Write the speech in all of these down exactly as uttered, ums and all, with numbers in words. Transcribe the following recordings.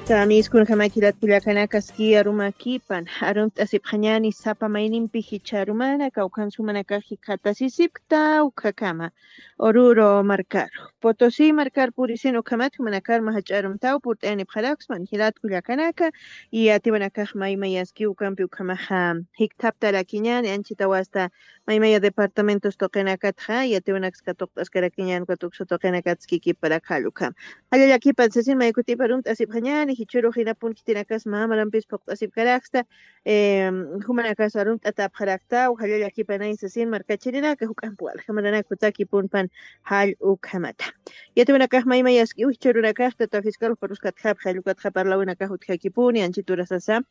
Kamiskunjamakilat kullakanakaski arumakipan arumt'asipxañani sapa maynimpi jichharumana kawkhansumanakax jikhatasisipkta ukhakama. Oruro markaru, potosi markar purisin ukhamat jumanakar majach'arumtaw purt'ayanipxaraksman jilat kullakanaka. Y atiwanakax maymayaski ukampi ukhamaxa jikthaptarakiñani anchitawasta maymaya departamentos tuqinakatxa yatiwanakska tuqt'askarakiñan ukat uksa tuqinakatski kiparak jallukam. Jallallakipan sasin maykutiparun t'asipxañani jichurux jinapun khitinakas mamarampis phuqt'asipkaraksta. Jumanakas arun t'atapxaraktaw jallallakipanay sasin markachirinaka juk'amp walja maranakutakipunpan jall ukhamata. Yatiwanakax maymayaskiw jichurunakax tata fiscal juparuskatjapxa jallukatxa parlawinakax utjakipuni anchiturasasa.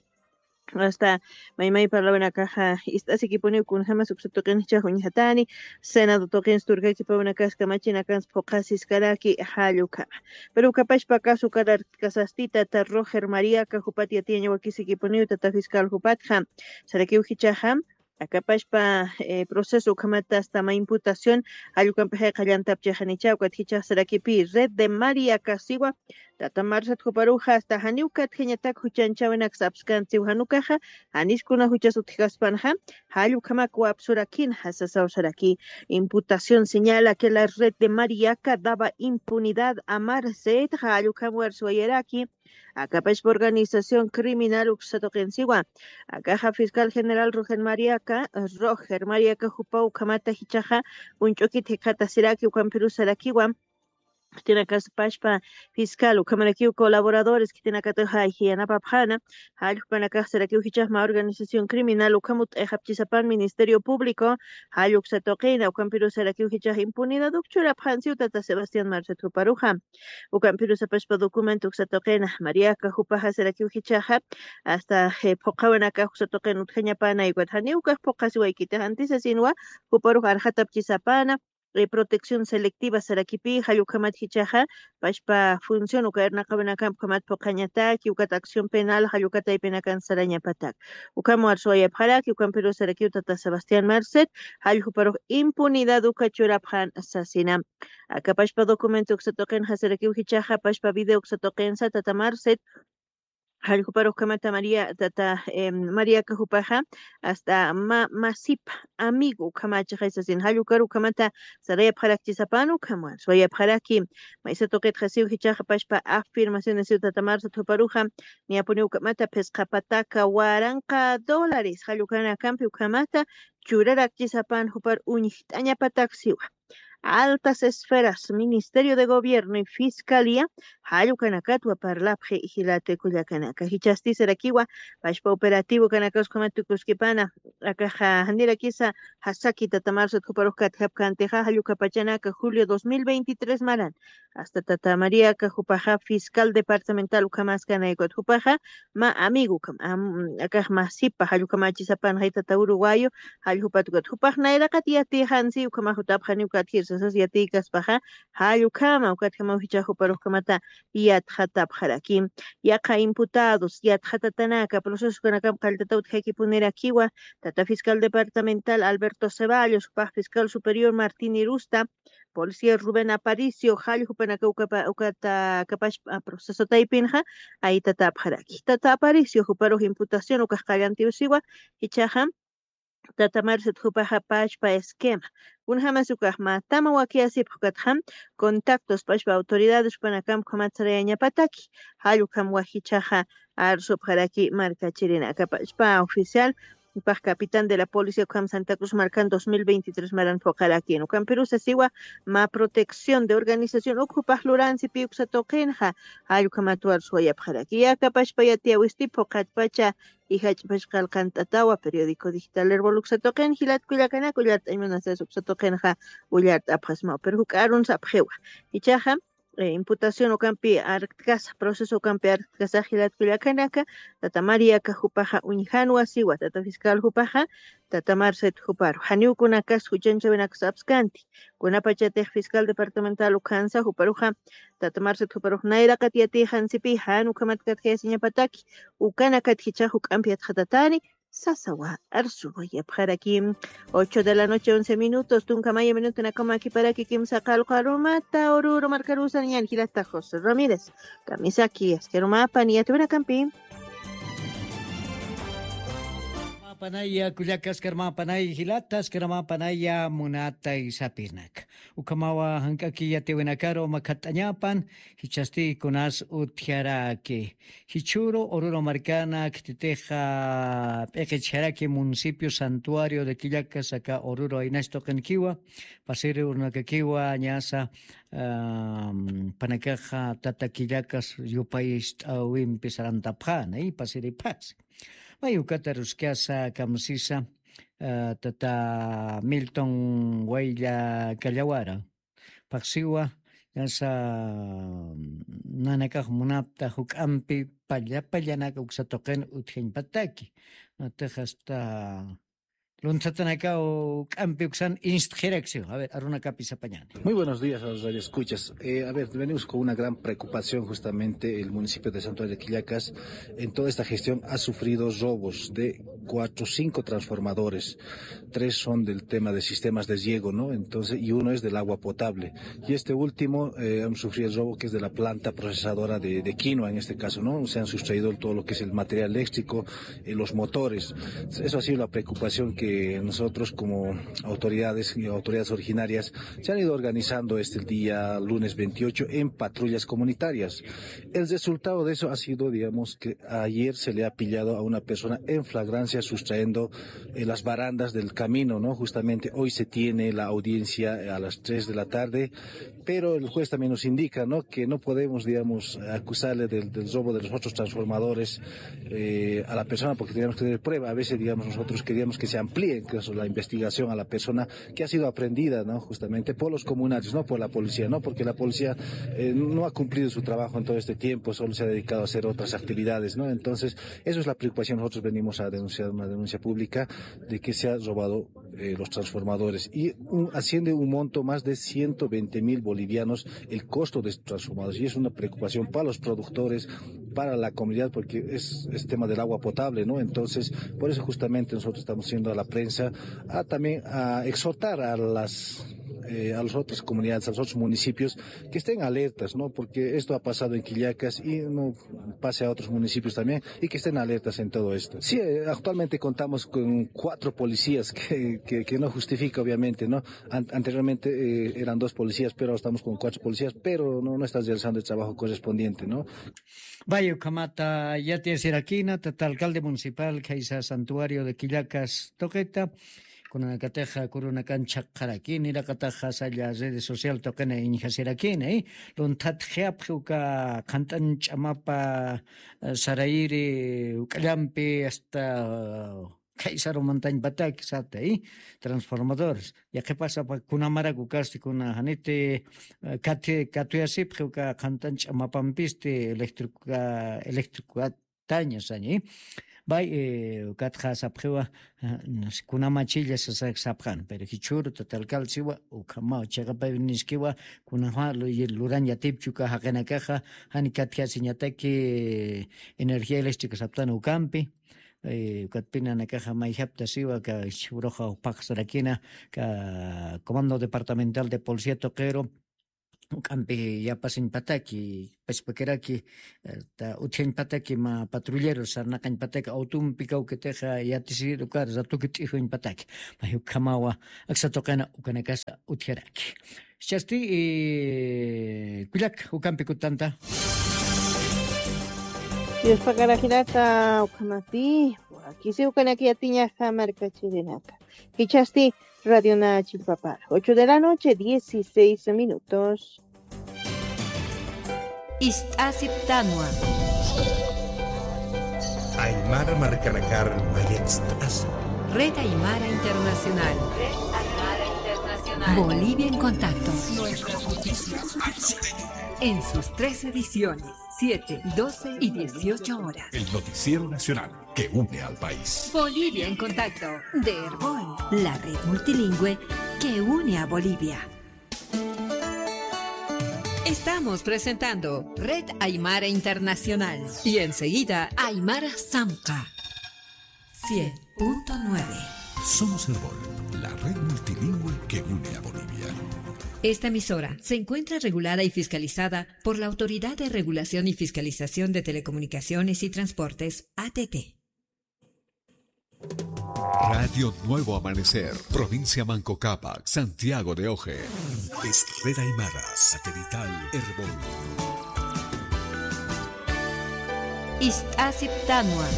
Asta maymay parlawinakaxa ist'asikipuniw kunjamas uksa tuqinchix uñjatani. Senado tuqins turkakipawinakas kamachinakans phuqasiskaraki jallukama. Pero ukapashpa kasu karatkasastita ta roger mariaka jupat yatiyañawakisikipuniw tata fiscal jupatxa. Sarakiw jichaxa akapashpa proceso ukhamata asta ma imputación jallukampixa qallantapchixanicha ukat jichax sarakipi red de mariaka siwa. Tata marsat juparuxa asta janiw katjañatak juchanchawinak sapskantsiw janukaxa janiskuna juchas utjkaspanxa. Jallukhamak wapsurakin jasasawsaraki. Imputación señala que la red de mariaka daba impunidad a marset jallukhamwar suwayaraki. Akapashpa organización criminal uksatuqinsiwa. Akaxa fiscal general roger mariaka roger mariaka jupaw ukhamata jichaxa uñch'ukit jikhatasiraki ukhampirusarakiwa. Khitinakasapashpa fiscal ukhamarakiw colaboradores khitinakataw jayji yanapapxana. Jallukpanakaxsarakiw jichaxma organización criminal ukhamut t'ayxapchisapan ministerio público. Jalluksa tuqina ukhampirusarakiw jichax impunidad ukchurapxansiw tata sebastián marcet juparuxa. Ukhampirusapashpa documento uksa tuqina mariaka jupaxasarakiw jichaxa asta phuqhawanakax uksa tuqina utjañapana ikwat janiw ukax phuqhasiwaykitix antisasinwa. Juparux arxatapchisapana protección selectiva sarakipi jallukhamat jichaxa pashpa función uka irnaqawinakamp ukhamat phuqhañataki ukat acción penal jallukataypinakan sarañapatak. Ukham warsuwayapxaraki ukhampirusarakiw tata sebastián marcet. Jalljuparux impunidad uka churapxan sasina. Akapashpa documento uksatuqinxasarakiw jichaxa pashpa video uksatuqinsa tata marcet. Jalljuparux ukhamata maría tata mariaka jupaxa asta ma masipa amigo ukhamachixay sasin jallukar ukhamata sarayapxarakchisapan ukhamwan suwayapxaraki. Maysa tuqitxasiw jichaxa pashpa afirmacionesiw tata marsat juparuxa niyapuniw ukhamata phisqa pataka waranqa dólares jallukanakampi ukhamata churarakchisapan jupar uñjt'añapataksiwa. Altas esferas ministerio de gobierno y fiscalía jallukanakatwa parlapxi jilata kullakanaka jichhasti sarakiwa. Pashpa operativo kanakasukhamat tukuskipana akaxa janirakisa jasaki tata marsat juparux katjapkantixa jallukapachanaka julio dos mil veintitrés maran asta tata mariaka jupaxa fiscal departamental ukhamaskanaykuta jupaxa ma amigo ukham akax masipa jallukamachisapan jaytata uruguayo. Jalljupat ukat jupax nayraqat yatixansi ukhamax jutapxani ukat jirsasas yatiykaspaxa jallukhama ukatjamaw jichax juparux ukhamata yatxatapxaraki. Yaqa imputados yatxatatanaka procesokanakam qalltata utjakipunirakiwa. Tata fiscal departamental alberto ceballos jupax fiscal superior martín irusta policía rubén aparicio jalljupanaka ukata kapashpa proceso taypinxa aytatapxaraki tata aparicio juparux imputación ukax qallantiwsiwa. Jichaxa tata marcet jupaxa pashpa esquema kunjamas ukax matama wakiyasipx ukatxam contactos pashpa autoridades jupanakam ukhamat sarayañapataki. Jallukam wajichaxa arsupxaraki markachirinaka pashpa oficial jupax capitán de la policía ukham santa cruz markan dos mil veintitrés maran phuqarakin ukampirusasiwa. Ma protección de organización uk jupax luransipi uksa tuqinxa jallukhamat warsuwayapxaraki yakapashpa yatiyawisti phuqatpacha ijach'pash qalqant'atawa periódico digital herboluksa tuqin jilat kullakanak ullart'añ munasas uksa tuqinxa ullart'apxasmaw pero juk'arun sapxiwa. Ichaxa imputación ukampi artkasa proceso ukampi artkasax jilat kullakanaka tata mariaka jupaxa uñjanwa siwa tata fiscal jupaxa tata marcet juparu janiwkunakas juchanchawinakas apskanti. Kunapachatix fiscal departamental ukhansa juparuxa tata marcet juparux nayraqat yatixansipi jan ukhamat katjayasiñapataki. Ukanakat jichax juk'ampi yatxatatani sasawa arsuwayapxaraki. Ocho de la noche, once minutos, tunka maya minuto nakama kiparaki kimsa qalqa rumata, Oruro markarusa ñan jilata José Ramírez. Kamisaki, askarumapan, yatiwinakampi. Mapanaya, kullaka, askarumapanaya, jilata, askarumapanaya, munata isapinak. Ukhamawa jank'aki yatiwinakaru makhat'añapan, jichhasti kunas utjaraki. Jichhüru Oruro markana khititixa p'iqichjaraki municipio santuario de Quillacas, aka Oruro aynas tuqinkiwa, pasiri urunakakiwa, ñasa, am, panakaxa tata Quillacas yupayist'äwimpi sarantapxäna, y pasiripxasi. May ukata ruskasa, kamsisa, ah, tata Milton Waylla Callawara. Phaxsiwa, ñasa, nanakax munapta juk'ampi palla pallanak uksa tuqin utjañpataki. Natix hasta lunthatanakaw juk'ampi uksan instxiraksiwa. A ver, arunakapi sapañani. Muy buenos días a los radioescuchas. Eh, a ver, venimos con una gran preocupación justamente el municipio de Santuario de Quillacas. En toda esta gestión ha sufrido robos de cuatro, cinco transformadores. Tres son del tema de sistemas de riego, ¿no? Entonces, y uno es del agua potable. Y este último, eh, hemos sufrido el robo que es de la planta procesadora de, de quinoa en este caso, ¿no? Se han sustraído todo lo que es el material eléctrico, eh, los motores. Eso ha sido la preocupación que nosotros como autoridades y autoridades originarias se han ido organizando este día lunes veintiocho en patrullas comunitarias. El resultado de eso ha sido, digamos, que ayer se le ha pillado a una persona en flagrancia sustrayendo, eh, las barandas del camino, ¿no? Justamente hoy se tiene la audiencia a las tres de la tarde, pero el juez también nos indica, ¿no? Que no podemos, digamos, acusarle del, del robo de los otros transformadores, eh, a la persona porque tenemos que tener prueba. A veces, digamos, nosotros queríamos que se amplíe incluso la investigación a la persona que ha sido aprendida, ¿no? Justamente por los comunarios, no por la policía, ¿no? Porque la policía, eh, no ha cumplido su trabajo en todo este tiempo, solo se ha dedicado a hacer otras actividades, ¿no? Entonces, eso es la preocupación. Nosotros venimos a denunciar una denuncia pública de que se ha robado, eh, los transformadores y un, asciende un monto más de ciento veinte mil bolivianos el costo de estos transformadores y es una preocupación para los productores, para la comunidad, porque es, es tema del agua potable, ¿no? Entonces, por eso justamente nosotros estamos yendo a la prensa a también a exhortar a las, eh, a las otras comunidades, a los otros municipios que estén alertas, ¿no? Porque esto ha pasado en Quillacas y no pase a otros municipios también y que estén alertas en todo esto. Sí, eh, actualmente contamos con cuatro policías que, que, que no justifica, obviamente, ¿no? An-, anteriormente, eh, eran dos policías, pero ahora estamos con cuatro policías, pero no, no están realizando el trabajo correspondiente, ¿no? Vaya, ukhamata yatiyasirakina, tata alcalde municipal, khaysa santuario de Quillacas tuqita, kunanakatixa kurunakan chhaqxarakini, niraqataxa salla redes social tuqina iñjasirakini, ¿eh? Lunthat jiapxi uka qhant'an ch'amapa, eh, sarayiri, uk'allampi, hasta, eh, khaysaru mantañpataki sata, ¿eh? Transformadores. Yaqhipasapa kunamarak ukasti kuna janiti, eh, kati-, katuyasipxi uka qhant'an ch'amapampisti electrica, electrica taña sañi. Bay, eh, ukatxa sapxiwa, eh, kunamachilla sasak sapxan, pero jichhüru tata alcalde siwa, ukhamaw chiqapayniskiwa, kunama lu-, lurañ yatipchi uka jaqinakaxa, jani katjasiñataki energía eléctrica saptan ukampi, eh, ukatpinanakaxa mayjapta siwa, ka jichhüruxa phaxsarakina, ka Comando Departamental de Policía tuqiru, uk'ampi yapasiñpataki, pachpakiraki, eh, ta utjañpataki mä patrullero sarnaqañpataki autumpi kawkitixa yatisir ukar ratuki t'ijuñpataki. May ukhamawa aksa tuqina ukanakasa utjaraki. Jichhasti, eh, kullak, ukampi kutanta. Dios pagarajinata ukhamapi, wakisi ukanak yatiñaxa markachirinaka. Jichhasti, Radio Nachi Papá, ocho de la noche, dieciséis minutos. Ist'asiptanwa. Aymara markanakar mayatst'asa. Red Aymara Internacional. Red Aymara Internacional. Bolivia en contacto. Nuestras noticias al costeño. En sus tres ediciones, siete, doce y dieciocho horas. El noticiero nacional que une al país. Bolivia en contacto, de Erbol, la red multilingüe que une a Bolivia. Estamos presentando Red Aymara Internacional y enseguida Aymara Samca. Cien punto nueve. Somos Erbol, la red multilingüe que une a Bolivia. Esta emisora se encuentra regulada y fiscalizada por la Autoridad de Regulación y Fiscalización de Telecomunicaciones y Transportes, A T T. Radio Nuevo Amanecer, provincia Manco Cápac, Santiago de Oje. Es Red Aymara, satelital Erbol. Ist'asiptanwa.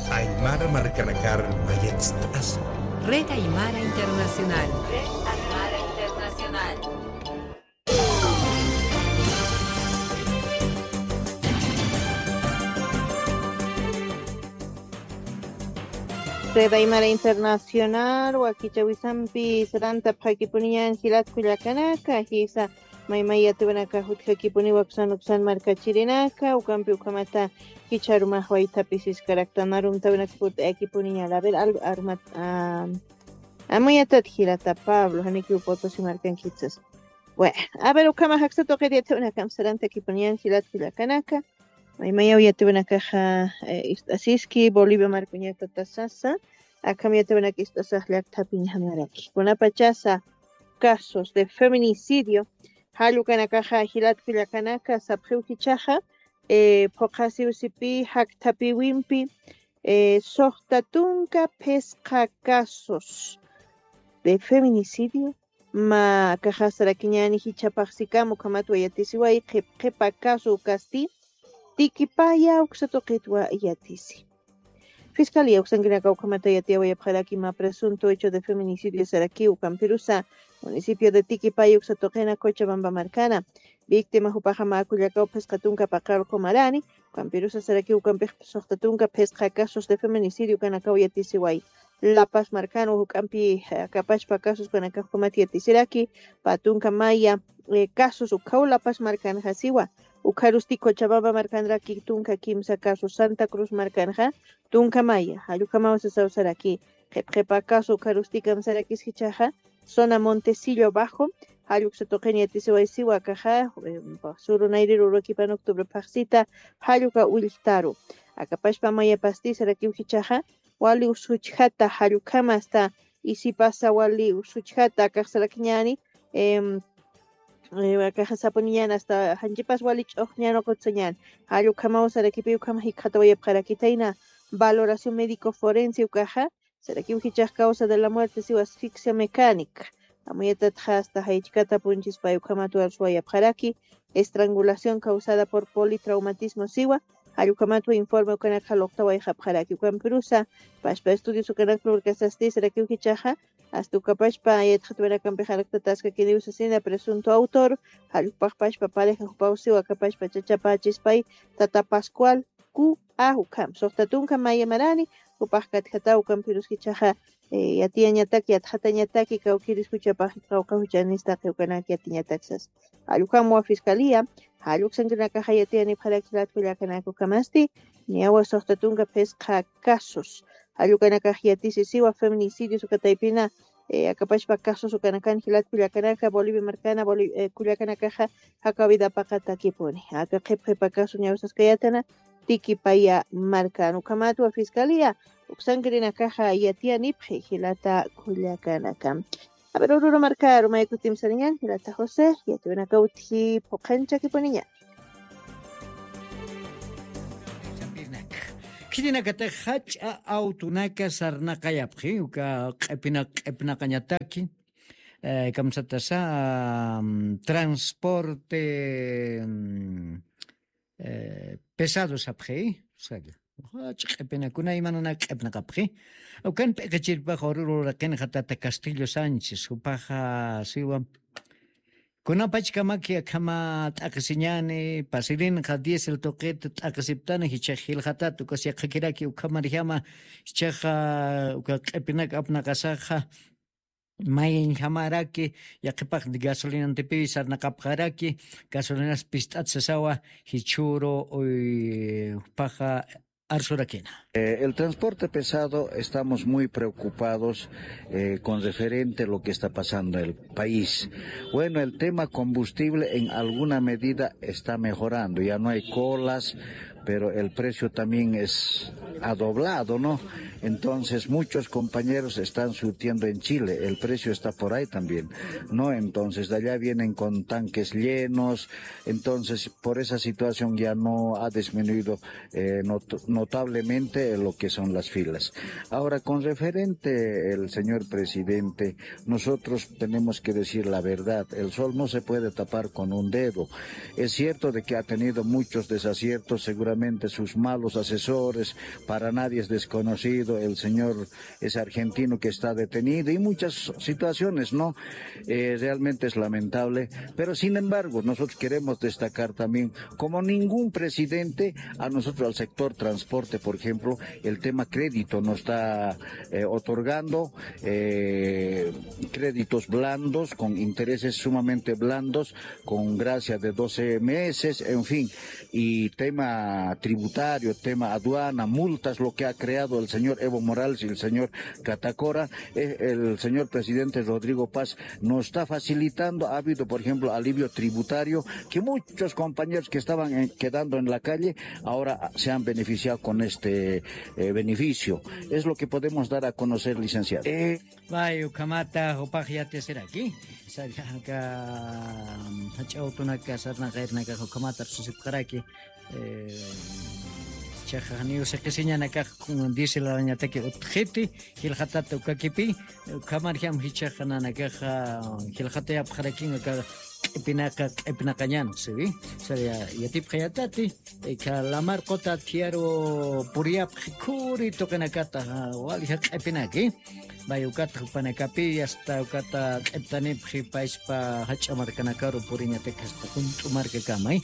Aymara markanakar mayatst'asa. Red Aymara Internacional. Red Aymara Internacional. Red Aymara Internacional, wakichawisampi sarantapxakipuniñan jilat kullakanaka, jisa maymay yatiwanaka jutjakipuniwa uksan uksan markachirinaka, ukampi ukhamata jichharumax waythapisis karaktanarumtawinaka purt'ayakipuniña. A ver, al-, arumat, ah, amuyatat jilata Pablo, janikiw Potosí markankitsas. Bueno, a ver, ukhama jaksa tuqir yatiwanakam sarantakipuniñan jilat kullakanaka. Maymayaw yatiwanakaxa, eh, ist'asiski, Bolivia markuñata tasasa. Akham yatiwanaka ist'asax llakthapiñamaraki. Kunapachasa casos de feminicidio, jall ukanakaxa jilat kullakanaka sapxiw jichhaxa, eh, phuqasiwsipi, jakthapiwimpi, eh, suxta tunka phisqa casos de feminicidio, mä akaxa sarakiñäni jichhapax sikam ukhamatwa yatisiway, qhip qhipa caso ukasti, tikipaya uksa tuqitwa yatisi. Fiscalía uksankinaka ukhamata yatiyawayapxaraki mä presunto hecho de feminicidio sarakiw ukampirusa municipio de Tiquipaya uksa tuqina Cochabamba markana. Víctima jupaxa mä kullakaw phisqa tunka paqallqu marani, ukampirusa sarakiw ukampix suxta tunka phisqa casos de feminicidio ukanakaw yatisiway. La Paz markan juk'ampi, eh, akapachpa casos ukanakax ukhamat yatisiraki, pä tunka maya, eh, casos ukhaw La Paz markanxa siwa. Ukharusti Cochabamba markanraki tunka kimsa casos, Santa Cruz markanxa tunka maya, jall ukhamaw sasaw saraki, qhip qhipa caso ukharusti kamsarakis jichhaxa, zona Montecillo Bajo, jall uksa tuqin yatisiway siwa akaxa, eh, suru nayriru urukipan octubre phaxsita, jall uka ulltaru. Akapachpa mayapasti sarakiw jichhaxa, wali usuchjata, jall ukhama hasta isipasa wali usuchjata, akax sarakiñäni, em, eh, akaxa sapuniñäni hasta janchipas wali ch'uxñan uqutsañäni. Jall ukhamaw sarakipi ukhama jikxatawayapxarakitayna valoración médico forense ukaxa, sarakiw jichhax causa de la muerte siwa asfixia mecánica. Amuyatatxa hasta jaychkata punchispay ukhamat warsuwayapxaraki, estrangulación causada por politraumatismo siwa, jall ukhamatwa informe ukanakxa luqtawayxapxaraki. Ukampirusa pachpa estudios ukanak lurkasasti sarakiw jichhaxa, hasta ukapachpa yatxatawinakampix araktatäskakiniw sasina presunto autor, jall ukapax pachpa pareja jupaw siwa akapachpa chachapächispay, tata Pascual Q A ukham. Suxta tunka maya marani, jupax katjataw ukampirus jichhaxa, eh, yatiyañataki, yatxatañataki, kawkïris juchapax, qawqha juchanis taqi ukanak yatiñatak sas. Jall ukhamwa fiscalía, jall uksankinakaxa yatiyanipxaraki jilat kullakanaka ukhamasti, niyawa suxta tunka phisqa casos. Jall ukanakax yatisisiwa feminicidios uka taypina, eh, akapachpa casos ukanakan jilat kullakanaka, Bolivia markana, Boli-, eh, kullakanakaxa jakaw vida paqatakipuni. Aka qhip qhipa caso niyaw saskayätana, Tiquipaya markan. Ukhamatwa fiscalía uksankirinakaxa yatiyanipxi jilata kullakanaka. A ver, Oruro markaru may kutim sariñan, jilata José, yatiwanakaw utji phuqanchakipuniña. Khitinakatix jach'a autonaka sarnaqayapxi, uka q'ipina-, q'ipnaqañataki, eh, kamsatasa, mm, transporte, mm, eh, pesado sapxi, salla. Jach'a q'ipinakuna imanunak q'ipnaqapxi. Ukan p'iqichirpax Oruro uraqinxa tata Castillo Sánchez, jupaxa siwa. Kunapachkamaki akhama t'aqhisiñäni, pasirinxa diésel tuqit t'aqhisiptana, jichhax jilxatat, ukas yaqhakiraki ukhamarjama, jichhaxa uka q'ipinak apnaqasaxa, mayañjamaraki, yaqhipax gasolinantipiw sarnaqapxaraki, gasolinas pist'at sasawa, jichhüru, uy, jupaxa arsurakina. Eh, el transporte pesado, estamos muy preocupados, eh, con referente a lo que está pasando en el país. Bueno, el tema combustible en alguna medida está mejorando, ya no hay colas, pero el precio también es ha doblado, ¿no? Entonces, muchos compañeros están surtiendo en Chile, el precio está por ahí también, ¿no? Entonces, de allá vienen con tanques llenos, entonces, por esa situación ya no ha disminuido eh, not- notablemente lo que son las filas. Ahora, con referente el señor presidente, nosotros tenemos que decir la verdad. El sol no se puede tapar con un dedo. Es cierto de que ha tenido muchos desaciertos, seguramente sus malos asesores, para nadie es desconocido, el señor es argentino que está detenido y muchas situaciones, ¿no? Eh, realmente es lamentable, pero sin embargo, nosotros queremos destacar también, como ningún presidente, a nosotros al sector transporte, por ejemplo, el tema crédito nos está eh, otorgando eh, créditos blandos con intereses sumamente blandos, con gracia de doce meses, en fin, y tema tributario, tema aduana, multas, lo que ha creado el señor Evo Morales y el señor Catacora, eh, el señor presidente Rodrigo Paz nos está facilitando. Ha habido, por ejemplo, alivio tributario, que muchos compañeros que estaban en- quedando en la calle ahora se han beneficiado con este eh, beneficio. Es lo que podemos dar a conocer, licenciado. Eh, Vay, ukhamata, jupax yatiyasiraki. Sallaka, jach'a awtunaka, sarnaqayrnakax ukhamata riqsisipxaraki. Eh, Chaxa, janiw siqisiñanakax, kun diésel arañataki utjiti, jilxatata ukakipi, ukhamarjam jichhaxa nanakaxa, jilxatayapxarakin aka q'ipinaqa, q'ipinaqañan, siwi. Sari, yatipxayatati, aka lamar quta thiyaru puriyapxi khuri tuqinakata, walja q'ipinaki. Vay, ukatxa jupanakapi, hasta ukata q'iptanipxi payspa jach'a markanakaru puriñatak hasta junt'u markakamay.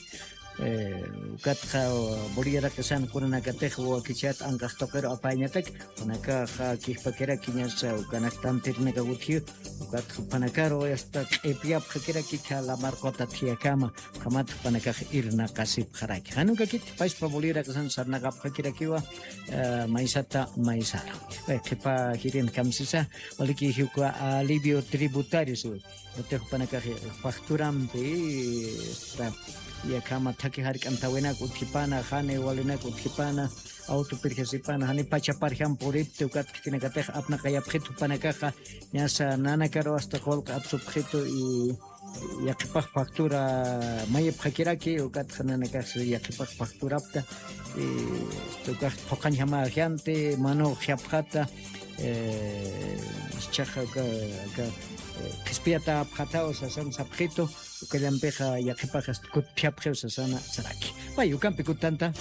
Eh, ukatxa Bolivia raqisan kunanakatix wakichat anqax tuqiru apayañatak, kunakaxa kijpakirakiñasa ukanak tantirinaka utji, ukatxa jupanakaru hasta q'ipiyapxakiraki kha lamar quta thiyakama, ukhamat jupanakax irnaqasipxaraki. Jan ukakit payspa Bolivia raqisan sarnaqapxakirakiwa, eh, maysata maysaru. Eh, qhipa jirin kamsisa, waliki jiwka alivio tributario, siwi. Utix jupanakax facturampi, esta, yakhama thaki jark'antawinak utjipana, jani walinak utjipana, auto pirjasipana, jani pacha parjam puripti, ukat khitinakatix apnaqayapxitu jupanakaxa, ñasa nanakaru hasta qullq apsupxitu y yaqhipax factura mayipxakiraki, ukatxa nanakax yaqhipax facturapta, y ukax phuqhañjama ajianti, manu jyapxata, eh, chaxa uka, uka, eh, qhispiyata apxataw sasan sapxitu, ukallampixa yaqhipax hasta kutphiapxiw sasana saraki. Pay, ukampi kutanta.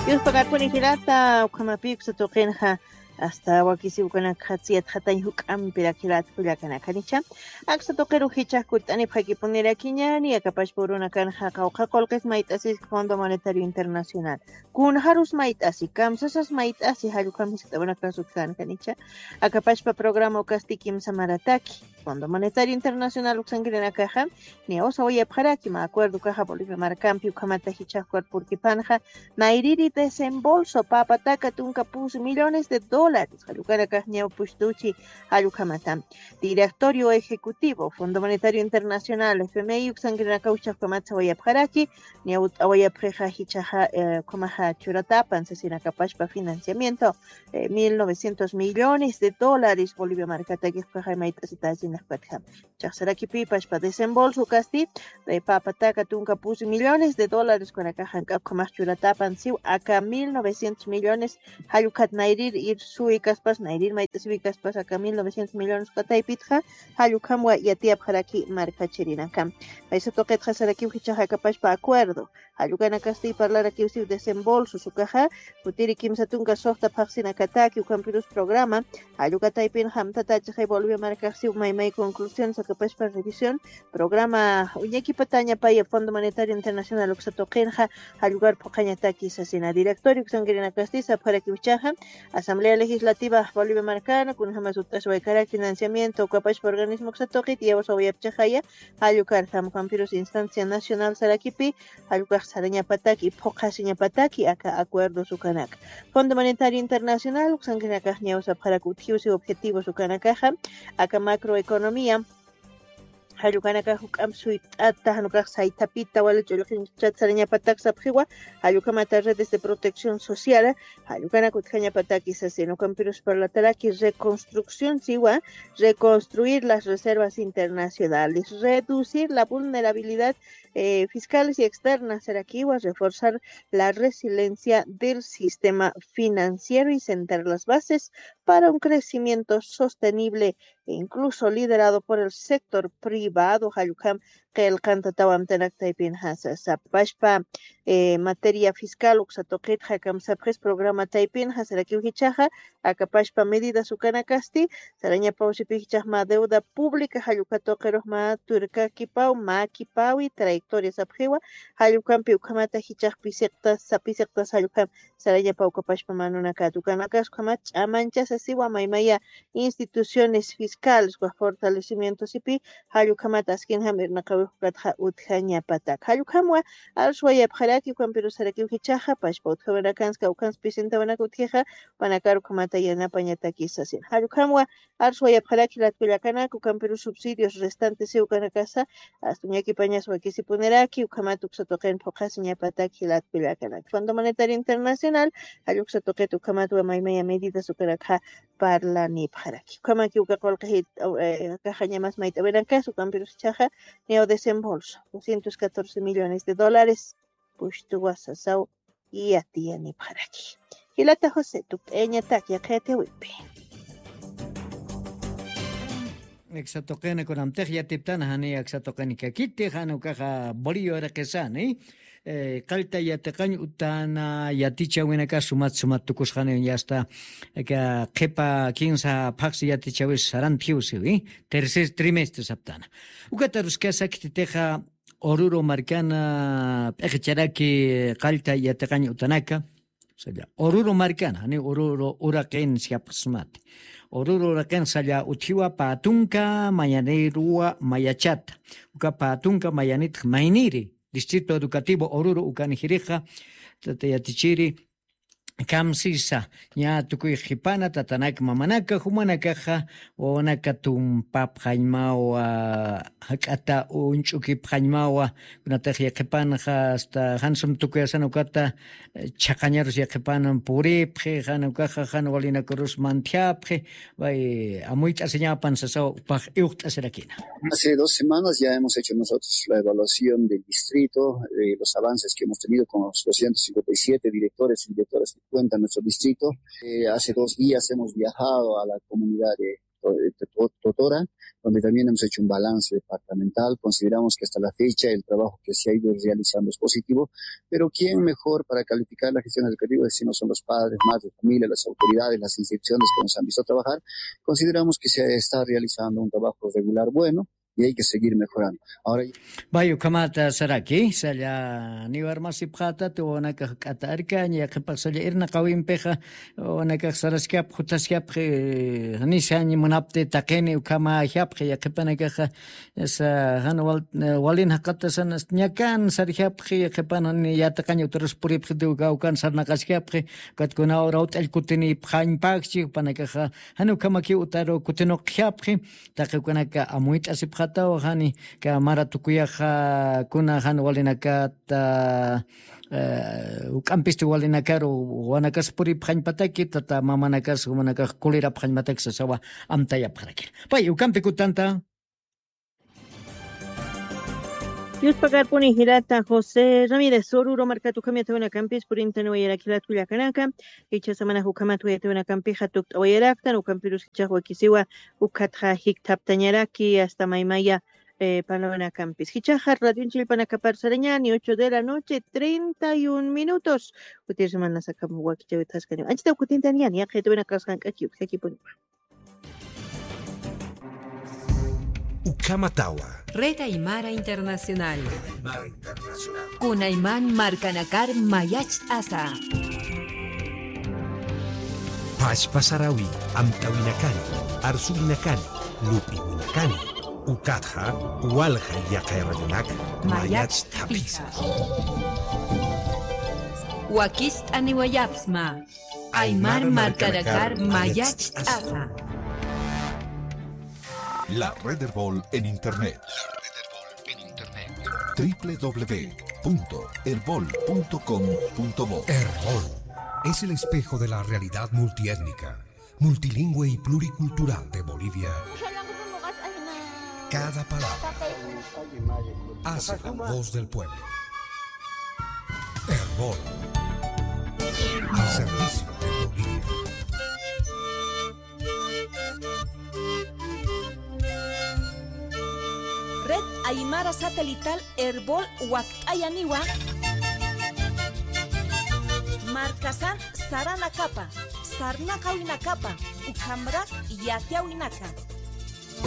Yuspakakuni jirata, ukhamapï uksa tuqinxa, hasta wakisiw ukanakxa tsiyatxatañ juk'ampirak jilat kullakanakanicha. Aksa tuqiru jichhax kutt'anipxakipunirakiñäni, akapachpa urunakanxa qawqha qullqis mayt'asiski Fondo Monetario Internacional. Kunxarus mayt'asi, kamsasas mayt'asi, jall ukham jiskt'awinakax utjänkanicha. Akapachpa programa ukasti kimsa marataki. Fondo Monetario Internacional uksankirinakaxa, niyaw sawayapxaraki, mä acuerdo ukaxa Bolivia markampi ukhamata jichhax cuerpurkipanxa, nayrïri desembolso, pä pataka tunka pus millones de dólares, jall ukanakax niyaw pustuchi, jall ukhamata. Directorio Ejecutivo Fondo Monetario Internacional, F M I, uksankirinakaw jichhax ukhamat sawayapxaraki, niyaw t'awayapxixa jichhaxa, eh, ukhamaxa churatapan sasin akapachpa financiamiento, eh, mil novecientos millones de dólares Bolivia markatakix ukaxa mayt'asitäsinakpatxa. Chaxsarakipï pachpa desembolso ukasti, eh, pä pataka tunka pus millones de dólares ukanakax jank'ap ukhamax churatapan siw aka mil novecientos millones, jall ukhat nayrïr ir suwikaspas, nayrïr mayt'asiwikaspas aka mil novecientos millones uka taypitxa, jall ukhamwa yatiyapxaraki markachirinaka. Paysa tuqitxa sarakiw jichhax akapachpa acuerdo. Jall ukanakasti parlarakiw siw desembolsos ukaxa, kutiri kimsa tunka suxta phaxsinakataki, ukhampirus programa, jall uka taypinxa amtatächixay Bolivia markax siw maymay conclusiones akapachpa revisión, programa uñakipatañapaya Fondo Monetario Internacional uksa tuqinxa, jall ukar phuqhañataki sasina. Directorio uksankirinakasti sapxarakiw jichhaxa, Asamblea Legislativa Bolivia markana, kunjamas ut'aswaykarak financiamiento ukapachpa organismo uksa tuqit, niyaw sawayapchixaya, jall ukar jam ukampirus instancia nacional sarakipi, jall ukax sarañapataki, phuqhasiñapataki aka acuerdos ukanaka. Fondo Monetario Internacional uksankirinakax niyaw sapxarak utjiw siw objetivos ukanakaxa, aka macroeconomía, Jallukanaka juk'amp suyt'ata, janukax saytapita wali ch'ullqinchata sarañapatak sapxiwa, jallukhamata redes de protección social, jallukanak utjañapataki sasin, ukampirus parlataraki reconstrucción siwa, reconstruir las reservas internacionales, reducir la vulnerabilidad eh, fiscales y externas, sarakiwa, reforzar la resiliencia del sistema financiero y sentar las bases para un crecimiento sostenible e incluso liderado por el sector privado, jallukam qillqantatawan amtanak taypin jasa sapashpa, eh, materia fiscal uksa tuqit jakam sapxis programa taypin jasarakiw jichaxa, akapashpa medidas ukanakasti, sarañapaw sipi jichax mä deuda pública, jallukha tuqirux mä turkakipaw, mä kipawi trayectoria sapxiwa, jallukampi ukhamata jichax pisiqtas, sapisiqtas jallukham, sarañapaw ukapashpa mä nunakat ukanakas ukhamat ch'amanchasa siwa maymaya instituciones fiscales, ukax fortalecimiento sipi, jallukhamat askinjam irnaqawix ukatxa utjañapatak. Jallukhamwa arswayapxaraki, ukampirus sarakiw jichaxa, pashpa utjawirakans kawkhans pisintawinak utjixa, jupanakar ukhamata yanapañataki sasin. Jallukhamwa arswayapxaraki jilat kullakanak, ukampirus subsidios restantes siw ukanakasa, astuñakipañas wakisipuniraki, ukhamat uksa tuqin phuqhasiñapatak jilat kullakanak. Fondo Monetario Internacional, jalluksa tuqit ukhamatwa maymaya medidas ukanakxa parlanipxaraki. Ukhamaki uka qullqi jit-, eh, kaxañamas mayt'awinakas, ukampirus jichaxa, neo desembolso, doscientos catorce millones de dólares, pushtuwa sasaw yatiyanipxaraki. Jilata José, tukt'ayañatak yaqhayatiwimpi. Aksa tuqina kunamtix yatiptana, jani aksa tuqini kakiti, jan ukaxa Bolillo uraqisani. Eh, qallta yatiqañ utana yatichäwinaka sumat sumat tukusxani, ya está, aka qhipa kinsa phaxsi yatichäwis sarantjiw siwi, tercer trimestre saptana. Ukat aruskasa khititixa Oruro markana p'iqicharaki qallta yatiqañ utanaka, salla Oruro markana, jani Oruro uraqin siyapxsmati. Oruro uraqin salla utjiwa pä tunka mayanïruwa mayachata. Uka pä tunka mayanitx mayniri, Distrito Educativo Oruro ukan jirixa, tata yatichiri, kamsisa, ña tukuy qhipana, tatanak, mamanaka, jumanakaxa, wawanaka tumpapxañmawa, jak'ata uñch'ukipxañmawa, kunatix yaqhipanxa, hasta jan sum tukuyasan ukata, eh, chhaqañarus yaqhipan puripxi, jan ukaxa, jan walinakurus mantjapxi, Way, amuyt'asiñapan sasaw, upax iwxt'asirakina. Hace dos semanas ya hemos hecho nosotros la evaluación del distrito, eh, los avances que hemos tenido con los doscientos cincuenta y siete directores y directoras que cuenta nuestro distrito. Eh, hace dos días hemos viajado a la comunidad de, de To-, Totora, donde también hemos hecho un balance departamental. Consideramos que hasta la fecha el trabajo que se ha ido realizando es positivo, pero ¿quién mejor para calificar la gestión educativa si no son los padres, madres de familia, las autoridades, las instituciones que nos han visto trabajar? Consideramos que se está realizando un trabajo regular bueno y hay que seguir mejorando. Ahora Vay, ukhamata saraki, salla, niw armasipxätati, wawanakax k'ata arkaña, yaqhipax salla irnaqawimpixa, wawanakax saraskapxi, jutaskapxi, nisañ munapti taqini, ukhama japxi, yaqhipanakaxa, Esa, jan wal-, eh, walin jaqatasan, ñakan sarjapxi, qhipan jan yatiqañ utarus puripxiti, uka, ukan sarnaqaskapxi, ukat kuna ura ut'all kutinipxañpakchi, jupanakaxa, jan ukhamakiw utaru kutinuqjapxi, taqi ukanaka amuyt'asipxataw, jani, ka mara tukuyaxa, kuna jan walinakata, eh, uk'ampisti walinakaru, wanakas puripxañpataki, tata mamanakas, jumanakax kulirapxañmatak sasawa, amtayapxarakir. Pay, ukampi kutanta. Yuspakarpuni jilata José Ramírez, Oruro markat ukham yatawinakampis purintaniwayaraki jilat kullakanaka, icha samana ukhamat yatawinakampixa tukt'awayaraktan, ukhampirus jichhax wakisiwa, ukhatxa jikthaptañaraki, hasta maymaya, eh, parlawinakampis. Jichhaxa radionchillpanakapar sarañani, ocho de la noche, treinta y un minutos. Kutir semana sakam wakichawithaskani. Anchitaw kutintaniyani, yaqha yatawinakax jank'aki, ukjakipuni. Ukhamatawa. Red Aymara Internacional. Kunayman markanakar mayacht'asa. Pachpa sarawi amtawinakani, arsuwinakani, lupiwinakani. Ukatxa walja yaqay radionak mayacht'apisa. Wakicht'aniwayapsma. Aymar markanakar mayacht'asa. La Red Erbol en Internet. La Red Erbol en Internet. W W W punto erbol punto com punto bo. Erbol es el espejo de la realidad multiétnica, multilingüe y pluricultural de Bolivia. Cada palabra hace la voz del pueblo. Erbol, al servicio de Bolivia. Red Aymara Satelital Erbol wakt'ayaniwa, markasan saranakapa, sarnaqawinakapa, ukhamrak yatiyawinaka.